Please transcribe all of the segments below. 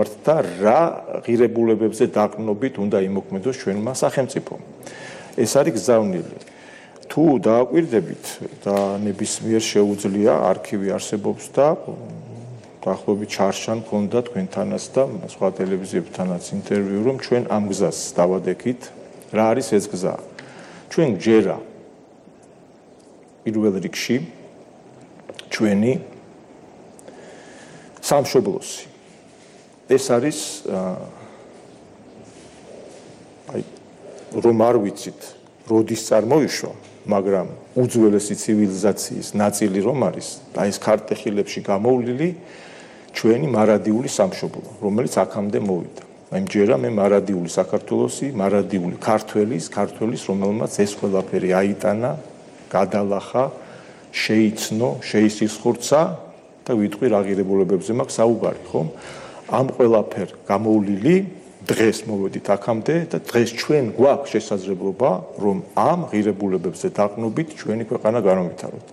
და რა ღირებულებებზე დაყრდნობით უნდა იმოქმედოს ჩვენმა სახელმწიფომ. ეს არის გზავნილი. თუ დააკვირდებით და ნებისმიერ შეუძლია არქივი არსებობს და დაახლოებით ჩარშან ქონდა თქვენთანაც და სხვა ტელევიზიებთანაც ინტერვიუ, რომ ჩვენ ამ გზას დავადექით. რა არის ეს გზა? ჩვენ გჯერა პირველ რიგში ჩვენი სამშობლოსი. ეს არის რომ არ ვიცით, როდის წარმოიშვა, მაგრამ უძველესი ცივილიზაციის ნაწილი რომ არის, და ეს ქართეხილებში გამოვლილი ჩვენი მარადიული სამშობლო, რომელიც აქამდე მოვიდა. მჯერა მე მარადიული საქართველოსი, მარადიული ქართველის, რომელმაც ეს ყველაფერი აიტანა, გადალახა, შეიცნო, შეისისხურცა და ვიტყვი რა ღირებულებებზე მაქვს საუბარი, ხო? ამ ყველაფერ გამოვლილი დღეს მოვედით აქამდე და დღეს ჩვენ გვაქვს შესაძლებლობა, რომ ამ ღირებულებებზე დაყრდნობით ჩვენი ქვეყანა განვითაროთ.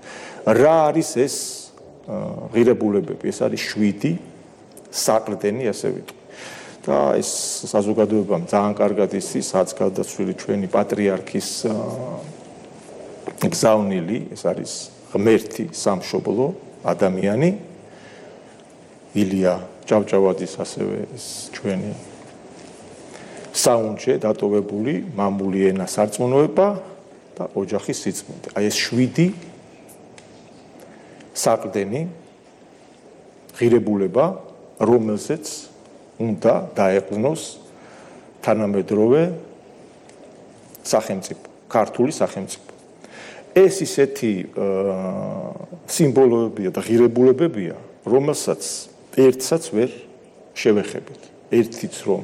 რა არის ეს ღირებულებები? ეს არის 7 საყრდენი, ასე ვიტყვი. და ეს საზოგადოებამ ძალიან კარგად იცის, რაც გადაცვლილი ჩვენი პატრიარქის გზავნილი, ეს არის ღმერთი სამშობლო ადამიანი, ილია ჭავჭავაძის ასევე ეს ჩვენი საუნჯე დატოვებული მამული ენა სარწმუნოება და ოჯახის სიწმინდე. აი ეს 7 საყრდენი ღირებულება, რომელზეც უნდა დაეყრდნოს თანამედროვე სახელმწიფო, ქართული სახელმწიფო. ეს ისეთი სიმბოლოებია და ღირებულებებია, რომელსაც ერთსაც ვერ შევეხებით. ერთიც რომ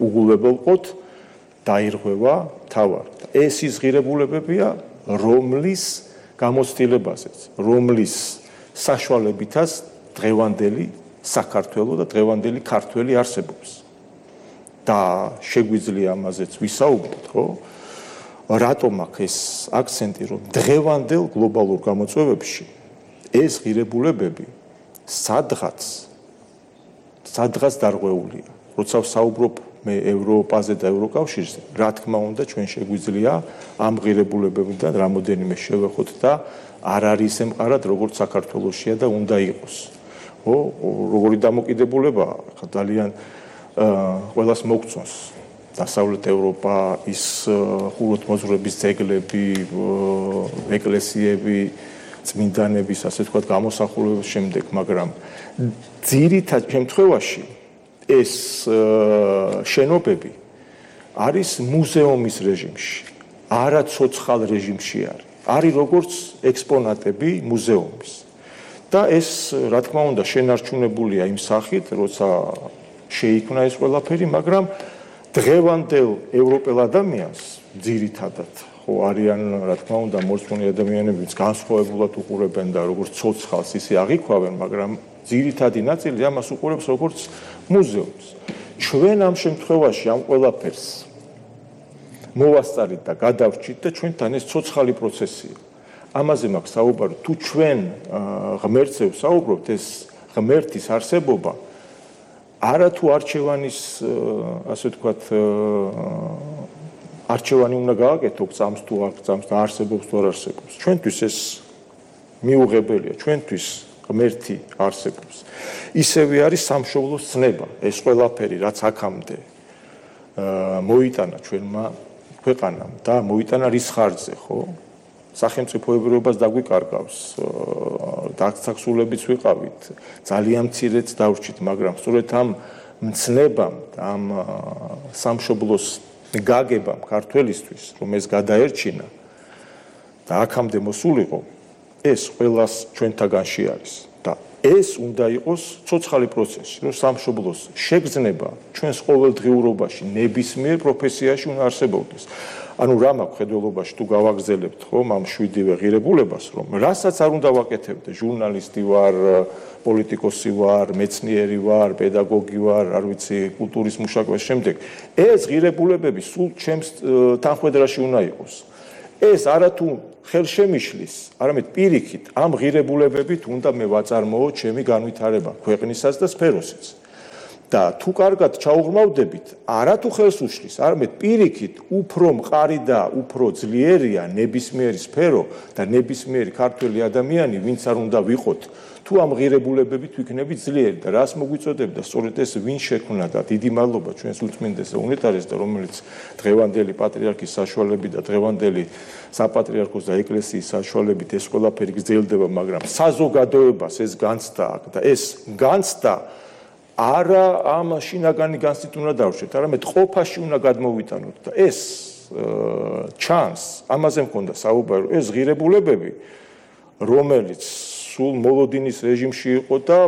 უგულებელყოთ, დაირღვევა თავარი. ეს ის ღირებულებებია, რომლის გამოცდილებაზეც, რომლის საშუალებითაც დღევანდელი საქართველო და დღევანდელი ქართველი არსებობს. და შეგვიძლია ამაზეც ვისაუბროთ, ხო? რატომ აქვს ეს აქცენტი, რომ დღევანდელ გლობალურ გამოწვევებში ეს ღირებულებები სადღაც დარღვეულია. როცა ვსაუბრობ მე ევროპაზე და ევროკავშირზე, რა თქმა უნდა, ჩვენ შეგვიძლია ამ ღირებულებებიდან რამოდენიმე შევეხოთ და არ არის ემყარად, როგორც საქართველოსია და უნდა იყოს. ხო, როგორი დამოკიდებულება ძალიან ყველას მოგწონს. დასავლეთ ევროპა, ის ხუროთმოძღვრების ძეგლები, ეკლესიები, წმინდანების, ასე ვთქვათ, გამოსახულების შემდეგ, მაგრამ ძირითად შემთხვევაში ეს შენობები არის მუზეუმის რეჟიმში, არა ცოცხალ რეჟიმში არის. არის როგორც ექსპონატები მუზეუმის. და ეს, რა თქმა უნდა, შენარჩუნებულია იმ სახით, როცა შეიქმნა ეს ყველაფერი, მაგრამ დღევანდელ ევროპელ ადამიანს ძირითადად ხო არიან, რა თქმა უნდა, მორწმუნე ადამიანებიც განსხვავებულად უყურებენ და როგორც ცოცხალს ისე აღიქვავენ, მაგრამ ძირითადი ნაწილი ამას უყურებს როგორც მუზეუმს. ჩვენ ამ შემთხვევაში ამ ყველაფერს მოვასწარით და გადავრჩით და ჩვენთან ეს ცოცხალი პროცესია. ამაზე მაქვს საუბარი, თუ ჩვენ ღმერთზე ვსაუბრობთ, ეს ღმერთის არსებობა არა თუ არჩევანის, ასე ვთქვათ, არჩევანი უნდა გააკეთო, გწამს თუ არ გწამს და არსებობს თუ არ არსებობს. ჩვენთვის ეს მიუღებელია, ჩვენთვის ღმერთი არსებობს. ისევე არის სამშობლოს ცნება, ეს ყველაფერი, რაც აქამდე მოიტანა ჩვენმა ქვეყანამ და მოიტანა რის ხარჯზე, ხო? სახელმწიფოებრიობას დაგვიკარგავს, დაქცაკსულებიც ვიყავით, ძალიან მცირეც დავრჩით, მაგრამ სწორედ ამ მცნებამ, ამ სამშობლოს გაგებამ ქართველისთვის, რომ ეს გადაერჩინა და აქამდე მოსულიყო, ეს ყველას ჩვენთაგანში არის და ეს უნდა იყოს ცოცხალი პროცესი, რომ სამშობლოს შეგრძნება ჩვენს ყოველდღიურობაში, ნებისმიერ პროფესიაში უნდა არსებობდეს. ანუ რა მაქვს ხედველობაში თუ გავაგზელებთ ხომ ამ 7-ვე ღირებულებას, რომ რასაც არ უნდა ვაკეთებდე, ჟურნალისტი ვარ, პოლიტიკოსი ვარ, მეცნიერი ვარ, პედაგოგი ვარ, არ ვიცი, კულტურის მუშაკების შემდეგ, ეს ღირებულებები სულ ჩემს თანხმედრაში უნდა იყოს. ეს არათუ ხელშემიშლის, არამედ პირიქით ამ ღირებულებებით უნდა მე ვაწარმოო ჩემი განვითარება ქვეყნისას და სფეროსიც. და თუ კარგად ჩაუღრმავდებით, არა თუ ხელს უშლის, არამედ პირიქით უფრო მყარი და უფრო ძლიერია ნებისმიერი სფერო და ნებისმიერი ქართველი ადამიანი, ვინც არ უნდა ვიყოთ, თუ ამ ღირებულებებით ვიქნებით ძლიერი და რას მოგვიწოდებ და სწორედ ეს ვინ შექმნა და დიდი მადლობა ჩვენს უწმინდეს და უნეტარეს და რომელიც დღევანდელი პატრიარქის საშუალებით და დღევანდელი საპატრიარქოს და ეკლესიის საშუალებით ეს ყველაფერი გრძელდება, მაგრამ საზოგადოებას ეს განცდა აქვს და ეს განცდა არა ამ შინაგანი განცდით უნდა დავშვეთ, არამედ ყოფაში უნდა გადმოვიტანოთ და ეს ჩანს, ამაზე მქონდა საუბარი, ეს ღირებულებები, რომელიც სულ მოლოდინის რეჟიმში იყო და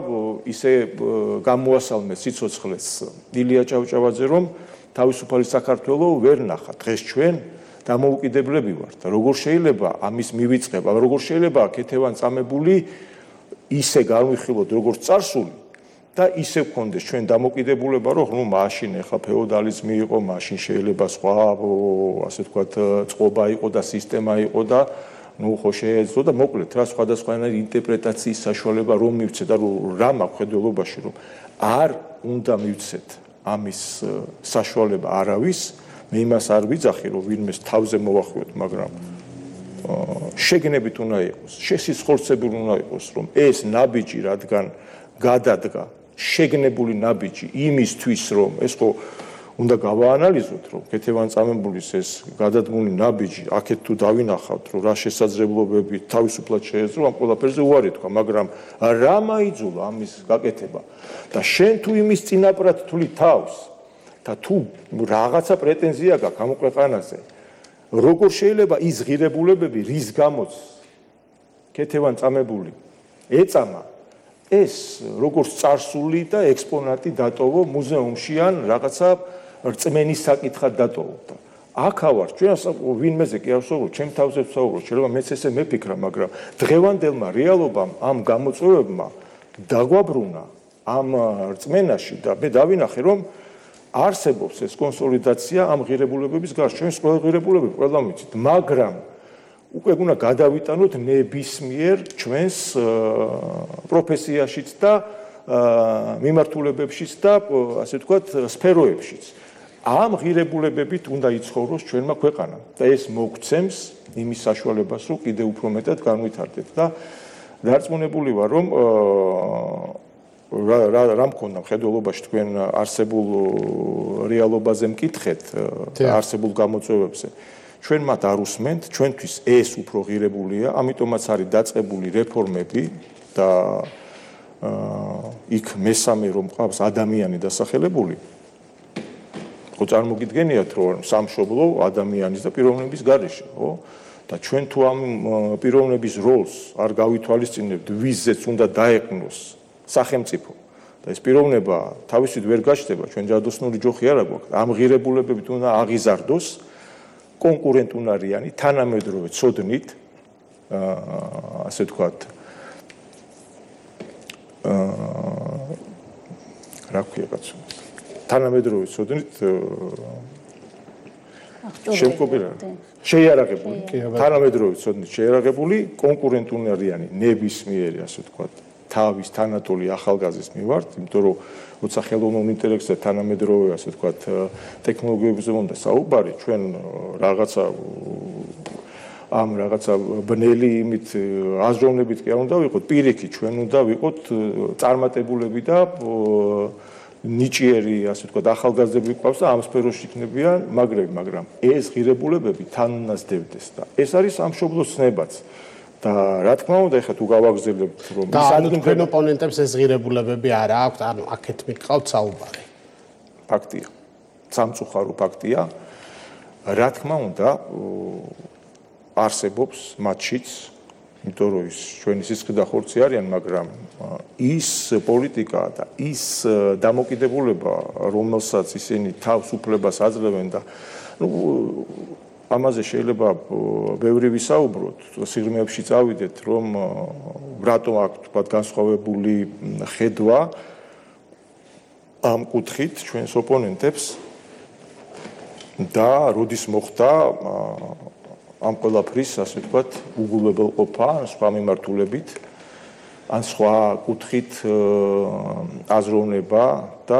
ისე გამოასალმეს სიცოცხლეს ილია ჭავჭავაძე, რომ თავისუფალი საქართველო ვერ ნახა. დღეს ჩვენ დამოუკიდებლები ვართ და როგორ შეიძლება ამის მივიწყება, როგორ შეიძლება ქეთევან წამებული ისე განვიხილოთ როგორც წარსული და ისე გქონდეს ჩვენ დამოკიდებულება, რომ მაშინ ახლა ფეოდალიზმი იყო, მაშინ შეიძლება სხვა ასე ვთქვათ წყობა იყო და სისტემა იყო და ხო შეეძლო და მოკლედ რა სხვადასხვანაირი ინტერპრეტაციის საშუალება რომ მივცეთ და რა მაქვს ხედველობაში რომ არ უნდა მივცეთ ამის საშუალება არავის მე იმას არ ვიძახი რომ ვინმეს თავზე მოვახვიოთ მაგრამ შეგნებით უნდა იყოს შესისხორცებული უნდა იყოს რომ ეს ნაბიჯი რადგან გადადგა შეგნებული ნაბიჯი იმისთვის რომ ეს ხო უნდა გავაანალიზოთ რომ ქეთევან წამებულის ეს გადადგმული ნაბიჯი აქეთ თუ დავინახავთ რომ რა შესაძლებლობები თავისუფლად შეეძლო ამ ყველაფერზე უარი თქვა მაგრამ რა მაიძულა ამის გაკეთება და შენ თუ იმის წინაპრად თვლი თავს და თუ რაღაცა პრეტენზია გაქვს ამ ქვეყანაზე როგორ შეიძლება ის ღირებულებები რის გამოც ქეთევან წამებული ეწამა ეს როგორც წარსული და ექსპონატი დატოვო მუზეუმში ან რაღაცა რწმენის საკითხად დატოვო. აქავარ ჩვენ ვინმეზე კი არ ვსაუბრობ, ჩემ თავზე ვსაუბრობ, შეიძლება მეც ესე მეფიქრა, მაგრამ დღევანდელმა რეალობამ ამ გამოწვევებმა დაგვაბრუნა ამ რწმენაში და მე დავინახე რომ არსებობს ეს კონსოლიდაცია ამ ღირებულებების გარშემო. ჩვენს ყველა ღირებულებები ყველა ვიცით, მაგრამ უკვე უნდა გადავიტანოთ ნებისმიერ ჩვენს პროფესიაშიც და მიმართულებებშიც და ასე ვთქვათ სფეროებშიც. ამ ღირებულებებით უნდა იცხოვროს ჩვენმა ქვეყანამ და ეს მოგცემს იმის საშუალებას, რომ კიდევ უფრო მეტად განვითარდეთ და დარწმუნებული ვარ, რომ რა მქონდა მხედველობაში თქვენ არსებულ რეალობაზე მკითხეთ, არსებულ გამოწვევებზე. ჩვენ მათ არ უსმენთ, ჩვენთვის ეს უფრო ღირებულია, ამიტომაც არის დაწყებული რეფორმები და იქ მესამე რომ ყავს ადამიანი დასახელებული. ხო წარმოგიდგენიათ რომ სამშობლო ადამიანის და პიროვნების გარეშე, ხო? და ჩვენ თუ ამ პიროვნების როლს არ გავითვალისწინებთ, ვიზეც უნდა დაეყნოს სახელმწიფო და ეს პიროვნება თავისით ვერ გაჩნდება, ჩვენ ჯადოსნური ჯოხი არ აქვს, ამ ღირებულებებით უნდა აღიზარდოს კონკურენტუნარიანი, თანამედროვე ცოდნით, ასე ვთქვათ, რა ქვია კაცო, თანამედროვე ცოდნით შეიარაღებული, თანამედროვე ცოდნით შეიარაღებული, კონკურენტუნარიანი, ნებისმიერი, ასე ვთქვათ, თავის თანატოლი ახალგაზრდის მიმართ, იმიტომ რომ როცა ხელოვნურ ინტელექტს და თანამედროვე, ასე ვთქვათ, ტექნოლოგიებზე უნდა საუბარი, ჩვენ რაღაცა ამ რაღაცა ბნელი იმით აზროვნებით კი არ უნდა ვიყოთ, პირიქით ჩვენ უნდა ვიყოთ წარმატებულები და ნიჭიერი, ასე ვთქვათ, ახალგაზრდები გვყავს და ამ სფეროში იქნებიან მაგრები, მაგრამ ეს ღირებულებები თან უნდა სდებდეს და ეს არის სამშობლოს ცნებაც. და რა თქმა უნდა, ეხლა თუ გავაგრძელებთ, რომ ის ადგილ თქვენ ოპონენტებს ეს ღირებულებები არ აქვთ, ანუ აქეთ მიყავთ საუბარი. ფაქტია. სამწუხარო ფაქტია. რა თქმა უნდა, არსებობს მათშიც, იმიტომ რომ ის ჩვენი სისხლი და ხორცი არიან, მაგრამ ის პოლიტიკა და ის დამოკიდებულება, რომელსაც ისინი თავს უფლებას აძლევენ და ამაზე შეიძლება ბევრი ვისაუბროთ, სიღრმეებში წავიდეთ, რომ რატომ აქვს თქვა განსხვავებული ხედვა ამ კუთხით ჩვენს ოპონენტებს და როდის მოხდა ამ ყველაფრის, ასე ვთქვათ, უგულებელყოფა სხვა მიმართულებით, ან სხვა კუთხით აზროვნება და